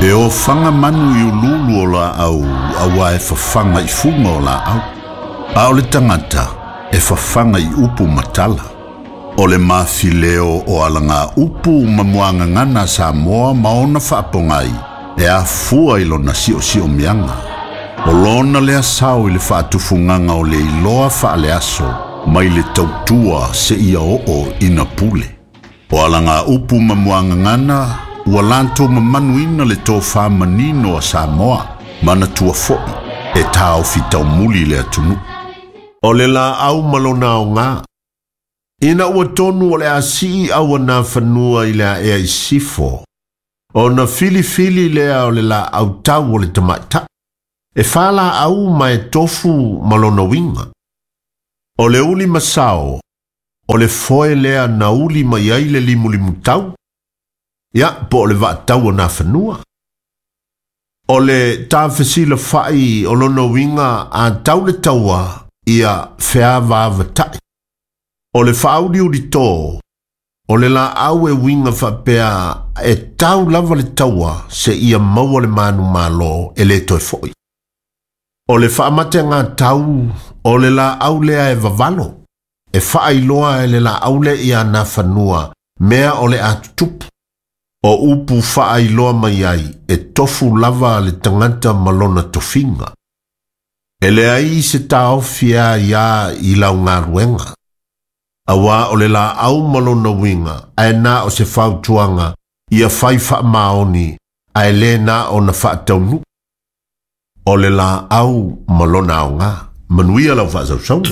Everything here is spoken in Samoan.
E ofaga manu i uluulu o laau auā e fafaga i fuga o laau. A o le tagata e fafaga i upu ma tala. O le mafileo o alagaupu ma muagagana a Samoa ma ona faapogai e afua i lona siosiomiaga. O lona lea sao i le faatufugaga o le iloa faaleaso mai le tautua seia oo ina pule. O alagaupu ma muagagana ua latou mamanuina le tofa manino a Samoa, manatua foi e taofi taumuli le atunuu. O le laau ma lona aoga. Ina ua tonu o le a sii auanafanua i le aea i sifo, ona filifili lea o le laau tau o le tamaitai. E falaau ma e tofu ma lona uiga. O le uli masao, o le foe lea na uli mai ai le limulimutau, ia po o le vaatau o nafanua. O le tafesilafa'i o lona uiga a tau le taua ia feavaavatai. O le faauliulito, o le laau e uiga faapea e tau lava le taua seia maua le manumalo e lē toe fo'i. O le faamategatau, o le laau lea e vavalo, e faailoa e le laau lea ia nafanua mea o le a tutupu. O upu faailoa mai ai e tofu lava le tagata ma lona tofiga. E leai se taofi e aiā i lau galuega. Auā o le laau ma lona uiga ae na o se fautuaga ia fai faamaoni ae lē na ona faataunuu. O le laau ma lona aoga. Manuia lau faasausauga.